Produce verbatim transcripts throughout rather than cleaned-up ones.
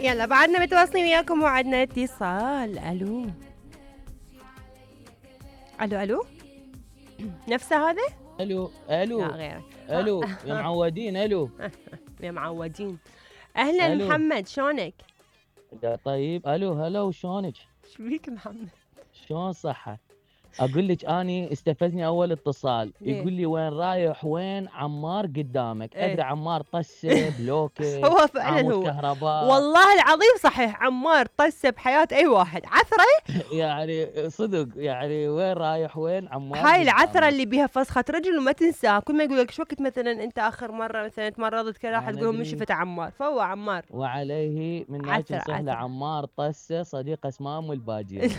يلا بعدنا متواصلين وياكم وعدنا اتصال. الو الو الو نفسه هذا؟ الو الو لا غيره. الو يا معودين. الو يا معودين. اهلا ألو. محمد شلونك؟ يا طيب. الو هلا وشلونك؟ ايش بيك محمد؟ شلون صحة؟ اقول لك اني استفزني اول اتصال ليه؟ يقول لي وين رايح وين عمار قدامك. إيه. ادري عمار طسه بلوكه هو فعلا عمود هو كهرباء والله العظيم صحيح. عمار طسه بحياة اي واحد. عثرة يعني صدق يعني وين رايح وين عمار هاي العثرة قدامك. اللي بيها فسخة رجل وما تنساها. كل ما يقول لك شو وقت مثلا انت اخر مرة مثلا تمرضت كذا راح أنا تقول لهم من أدري. شفت عمار. فهو عمار. وعليه من عثرة ناكل سهله عثرة. عمار طسه صديق اسمام والباجيه.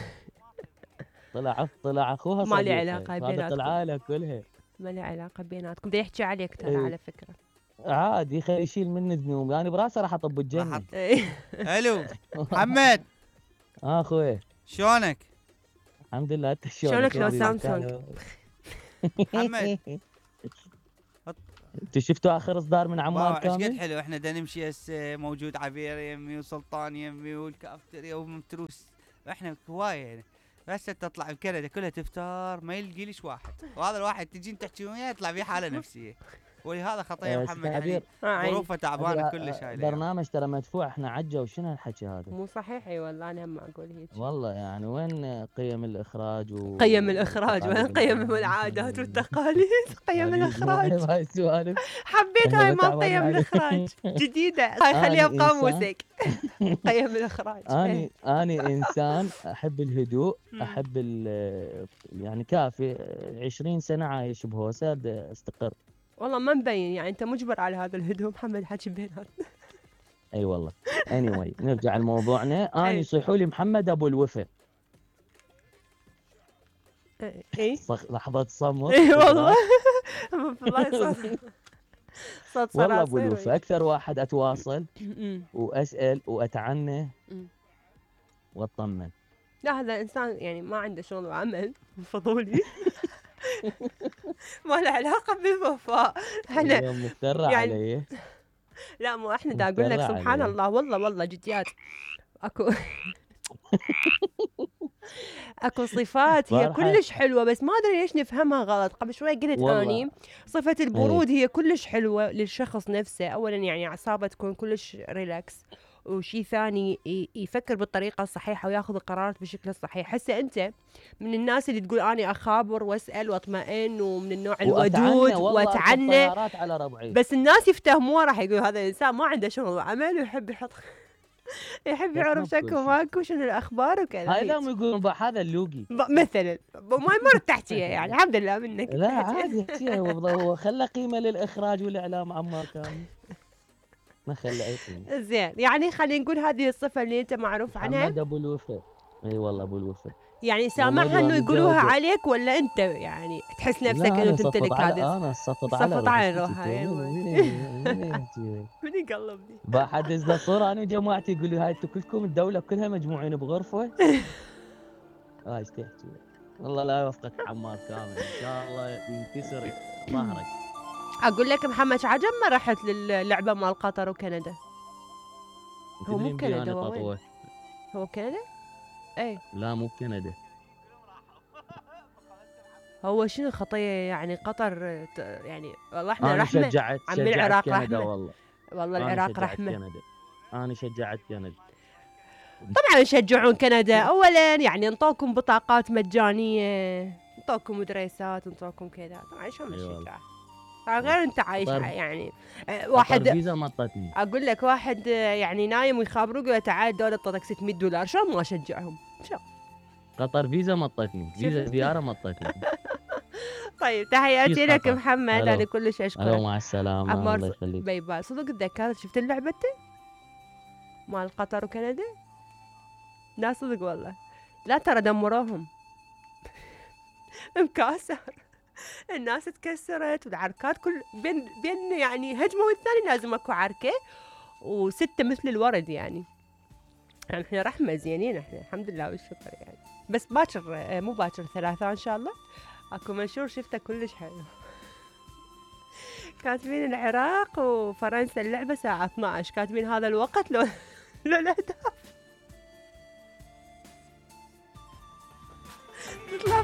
طلع طلع اخوها ما لي صديقه علاقة هذا بيناتكم. طلع لها كلها. ما لي علاقة بيناتكم. دا يحكي عليك ترى إيه. على فكرة. عادي خلي يشيل مني ذنوب انا براسه راح اطب الجنه. إيه. الو محمد اه اخوي شلونك؟ الحمد لله. انت شلونك لو شلونك؟ سامسونج؟ محمد انتوا شفتوا اخر اصدار من عمار ايش قد كامل؟ حلو. احنا دا نمشي هسه موجود عبير يمي وسلطان يمي والكافتريا ومتروس. احنا هوايه يعني. بس تطلع بكندا كلها تفتار ما يلقي ليش واحد. وهذا الواحد تجين تحكي وياه يطلع فيه حاله نفسيه. ولهذا خطيه آه، محمد أستاذ يعني عبير. آه، عيني. ظروفه تعبانه آه، كلش هاي الأيام. برنامج ترى مدفوع احنا عجه وشنو هالحكي هذا؟ مو صحيح. اي والله انا هم اقول هيك. والله يعني وين قيم الاخراج و قيم الاخراج وين والتقاليد قيم العامة؟ العادات والتقاليد. قيم يعني الاخراج. مو هاي السوالف. حبيت إحنا هاي مال متعودين قيم عليه. الاخراج جديده. هاي أنا خليها إنسان. بقاموسك. قيم الاخراج. اني اني انسان احب الهدوء مم. احب ال- يعني كافي عشرين سنه عايش بهوسه بدي استقر. والله ما مبين يعني انت مجبر على هذا الهدوء محمد. حكي بيناتنا. اي والله. anyway نرجع لموضوعنا. اني أي. يصيحوا لي محمد ابو الوفا. اي صخ- لحظه صمت. اي والله. والله صوت صوت والله ابو صراصير. الوفا اكثر واحد اتواصل أمم. واسال واتعنى أمم. واطمن. لا هذا انسان يعني ما عنده شغل وعمل فضولي. ما له علاقه بالوفاء. احنا اليوم مفترى يعني- علي. لا مو احنا دا اقول لك مفترى سبحان عليه. الله. والله والله جديات اكو اكو صفات هي فرحة. كلش حلوه بس ما ادري ليش نفهمها غلط. قبل شوي قلت والله. اني صفه البرود هي كلش حلوه للشخص نفسه. اولا يعني اعصابه تكون كلش ريلاكس. وشي ثاني ي- يفكر بالطريقه الصحيحه وياخذ القرارات بشكل الصحيح. هسه انت من الناس اللي تقول اني اخابر واسال واطمئن ومن النوع وأتعنى الودود والله أركب واتعنى. طيارات على ربعي. بس الناس يفتهموه راح يقول هذا الانسان ما عنده شغل وعمل ويحب يحط يحب يعرف يفهم كل شكو شيء. ماكو شنو الاخبار وكذا. هاي هيك. لهم يقولون بقى هذا اللوقي. ب- مثلا ب- ما يمر تحتيها يعني. الحمد لله منك. لا تحتيها. عادي يحكيها هو هو خلى قيمه للاخراج والاعلام عمار كامل. ما خلى اي قيمه. زين يعني خلينا نقول هذه الصفه اللي انت معروف عنها. محمد ابو الوفا. اي والله ابو الوفا. يعني سامعها انه يقولوها عليك ولا انت يعني تحس نفسك لا، انه أنا تمتلك صفط على- هذه. انا صفط على صفط على روحي. روحها، وين- أيوة. وين- وين يحكي؟ من يقلبني. بحدث له صوره انا وجماعتي يقول لي هاي انتم كلكم الدوله كلها مجموعين بغرفه. هاي ايش تحكي؟ والله لا يوفقك عمار كامل ان شاء الله ينكسر ظهرك. اقول لك محمد عجب ما رحت للعبه مال قطر وكندا. هو مو تدري بكندا، أنا هو وين؟ تطوع. هو بكندا؟ اي لا مو بكندا. هو شنو خطيه يعني قطر ت- يعني والله احنا انا رحمه. شجعت عم شجعت العراق كندا رحمة. والله. والله أنا العراق شجعت رحمه. كندا. انا شجعت كندا. طبعا يشجعون كندا. اولا يعني انطوكم بطاقات مجانيه. انطوكم مدرسات انطوكم كذا. طبعا شو أي والله. مشجع. غير انت عايش قطر- يعني آه، واحد واحد فيزا مطتني. اقول لك واحد آه، يعني نايم ويخابروه يقول له تعال الدوله تعطيك ستمية دولار. شلون ما اشجعهم؟ شلون؟ قطر فيزا مطتني. فيزا شفت؟ زياره مطتني. طيب تحياتي كيف لك خطر؟ محمد. ألو. انا كلش الو اشكرك. مع السلامه عمار الله يخليك. باي باي. صدق تذكرت شفت اللعبه انت؟ مال قطر وكندا؟ لا صدق والله. لا ترى دمروهم. مكاسر. الناس تكسرت والعركات كل بين بين يعني هجمه والثاني لازم اكو عركه وسته مثل الورد يعني. يعني احنا رحمه زينين احنا الحمد لله والشكر يعني. بس باكر آه، مو باكر ثلاثة ان شاء الله اكو منشور شفته كلش حلو. كاتبين العراق وفرنسا اللعبه الساعه اثنعش. كاتبين هذا الوقت لو لا الاهداف